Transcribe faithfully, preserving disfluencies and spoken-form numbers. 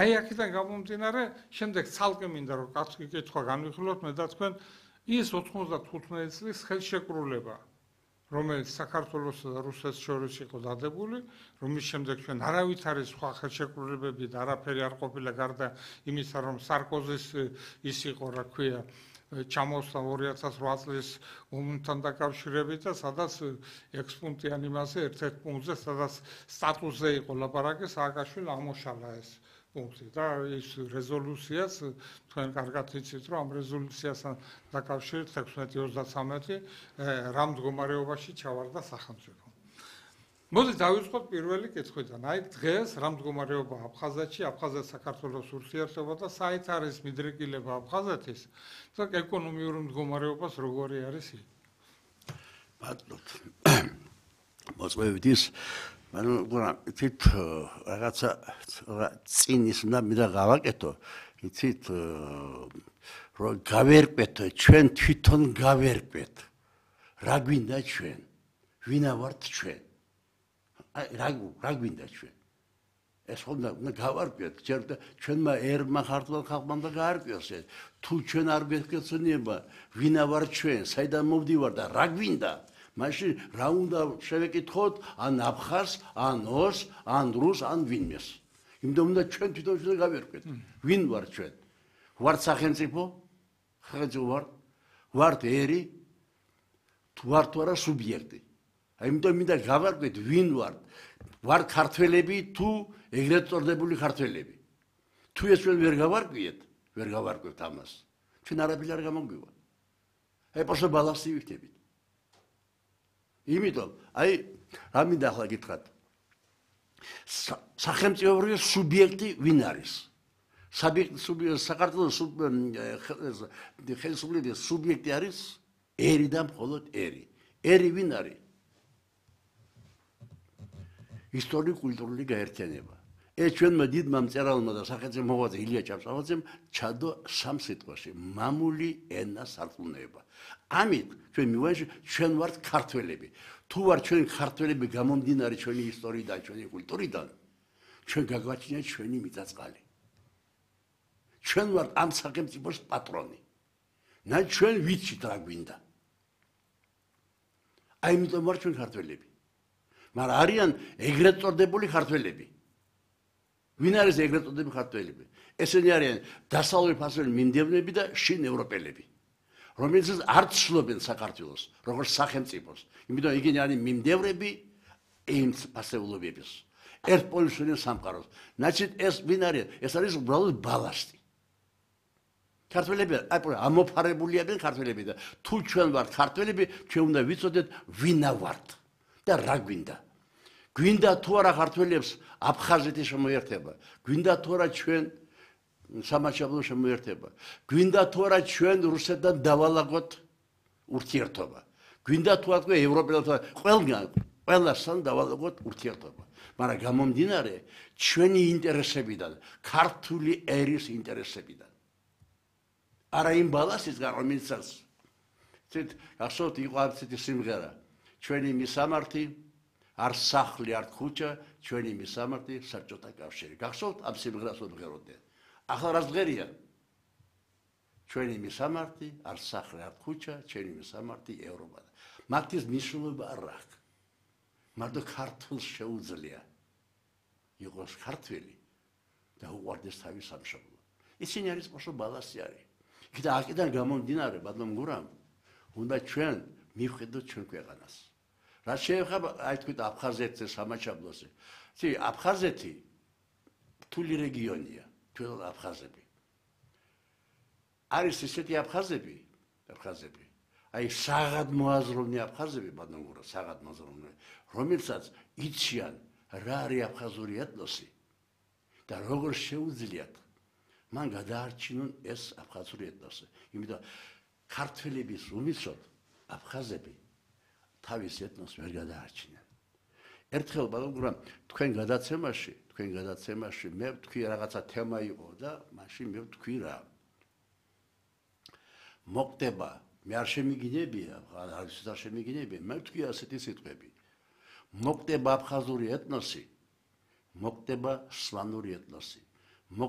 აი აქედან გამომდინარე, შემდეგ ცალკე მინდა რომ კაცი კითხვა განვიხილოთ მე და თქვენ ის ოთხმოცდათხუთმეტი წლის ხელშეკრულება, რომელიც საქართველოსა და რუსეთს შორის იყო დადებული, რომლის შემდეგ ჩვენ არავით არის სხვა ხელშეკრულებები და არაფერი არ ყოფილა გარდა იმისა, რომ სარკოზის ის იყო, რა ქვია, ჩამოსვლა ორი ათას რვა წლის ომთან დაკავშირებით და სადაც ექვს პუნქტიან იმაზე, ერთ-ერთ პუნქტზე, სადაც სტატუსზე იყო ლაპარაკი, სააკაშვილი აღმოშალა ეს პუნქტი და ის რეზოლუციაც თქვენ კარგად იცით, რომ ამ რეზოლუციასთან დაკავშირებით ექვსმეტი ოცდათვრამეტი რა მდგომარეობაში ჩავარდა სახელმწიფო. მოდით დავიწყოთ პირველი კითხვიდან. აი დღეს რა მდგომარეობა აფხაზეთში, აფხაზეთ-საქართველოს ურთიერთობა და საით არის მიდრეკილება აფხაზეთის და ეკონომიური მდგომარეობას როგორი არის იქ? ბატონო. მოწვევით ის ანუ იცით რაღაცა წინის უნდა მინდა გავაკეთო, იცით რომ გავერკვეთ, ჩვენ თვითონ გავერკვეთ. რა გვინდა ჩვენ? ვინა ვართ ჩვენ? აი რა რა გვინდა ჩვენ? ეს ხომ უნდა გავარკვიოთ, ჩვენმა ერმა ქართულ ხალხმა და გაარკვიოს ეს. თუ ჩვენ არ გვექცენება, ვინა ვარ ჩვენ, საიდან მოვდივარ და რა გვინდა? მაშინ რა უნდა შევეკითხოთ ან აფხაზს, ან ოს, ან რუს, ან ვინმეს. იმიტომ უნდა ჩვენ თვითონ შევ გავერკვეთ. ვინ ვარ ჩვენ? ვართ სახელმწიფო? სახელმწიფო ვარ? ვართ ერი? თუ ვართ თუ არა სუბიექტი. აი იმიტომ მინდა გავარკვეთ ვინ ვართ? ვართ ქართველები თუ ეგრეთ წოდებული ქართველები? თუ ეს ჩვენ ვერ გავარკვიეთ, ვერ გავარკვევთ ამას. ჩვენ არაფერი არ გამოგვივა. აი პოსო ბალანსი ვიქნებით. იმიტომ, აი, რა მინდა ახლა გითხრათ. სახელმწიფო სუბიექტი ვინ არის? საქართველოს ხელისუფლების სუბიექტი არის ერი და მხოლოდ ერი. ერი ვინ არის? ისტორიულ-კულტურული გაერთიანება. ეს ჩვენმა დიდმა მწერალმა და სახელმწიფო მოღვაწე ილია ჭავჭავაძემ ჩადო სამ სიტყვაში მამული ენა სარწმუნოება. ამით ჩვენ მივაჟ ჩვენ ვართ ქართველები. თუ ვარ ჩვენ ქართველები გამომდინარე ჩვენი ისტორიიდან, ჩვენი კულტურიდან, ჩვენ გაგვაჩნია ჩვენი მიწა-წყალი. ჩვენ ვართ ამ სახელმწიფოს პატრონი. და ჩვენ ვიცით რა გვინდა. აი იმიტომ ვარ ჩვენ ქართველები. მაგრამ არიან ეგრეთ წოდებული ქართველები. ვინ არის ეგრეთ წოდებული ქართველები? ესენი არიან დასავლური ფასური მიმდევნები და შინ ევროპელები. რომელსაც არ ცნობენ საქართველოს, როგორც სახელმწიფოს. იმიტომ იგენი არის მიმდევრები იმ ფასეულობების. ერთ პოლისური სამყაროს. ნაცით ეს ვინ არის? ეს არის უბრალოდ ბალასტი. ქართველები ამოფარებულია ქართველები და თუ ჩვენ ვართ ქართველები, ჩვენ უნდა ვიცოდეთ ვინა ვართ და რა გვინდა. გვინდა თუ არა ქართველებს აფხაზეთის შემოერთება, გვინდა თუ არა ჩვენ სამაჩაბლო შემოერთება, გვინდა თუ არა ჩვენ რუსეთთან დავალაგოთ ურთიერთობა, გვინდა თუ არა ევროპელთან ყველგან ყველასთან დავალაგოთ ურთიერთობა. მაგრამ გამომდინარე ჩვენი ინტერესებიდან, ქართული ერის ინტერესებიდან. არა იმ ბალასისგან, რომელსაც ცით გახსოვთ იყო არცეთი სიმღერა, ჩვენი მისამართი არ სახლი, არ ქუჩა, ჩვენი მისამართი საბჭოთა კავშირი. გახსოვთ ამ სიმღერას ვიმღეროდნენ. ახლა რა ჟღერია? ჩვენი მისამართი არ სახლი, არ ქუჩა, ჩვენი მისამართი ევროპა. მათთვის მნიშვნელობა არ აქვს. მარტო ქართულს შეუძლია იყოს ქართველი და უყვარდეს თავის სამშობლო. ისინი არის პოსო ბალასი არის. კიდე აქედან გამომდინარე, ბატონო გურამ, უნდა ჩვენ მივხედოთ ჩვენ ქვეყანას. რა შეეხება აი თქვით აფხაზეთზე, სამაჩაბლოზე. ცი აფხაზეთი რთული რეგიონია, თვითონ აფხაზები. არის ისეთი აფხაზები, აფხაზები. აი საღად მოაზროვნე აფხაზები, ბატონო გურამ, საღად მოაზროვნე, რომელსაც იციან რა არის აფხაზური ეთნოსი და როგორ შეუძლიათ მან გადაარჩინონ ეს აფხაზური ეთნოსი. იმიტომ ქართველების უმისოდ აფხაზები თავის ეთნოსს ვერ გადაარჩინენ. ერთხელ ბატონო გურამ, თქვენ გადაცემაში, თქვენ გადაცემაში მე ვთქვი რაღაცა თემა იყო და მაშინ მე ვთქვი რა. მოხდება, მე არ შემიგინებია, არ შემიგინებია, მე ვთქვი ასეთი სიტყვები. მოხდება აფხაზური ეთნოსი, მოხდება სლანური ეთნოსი.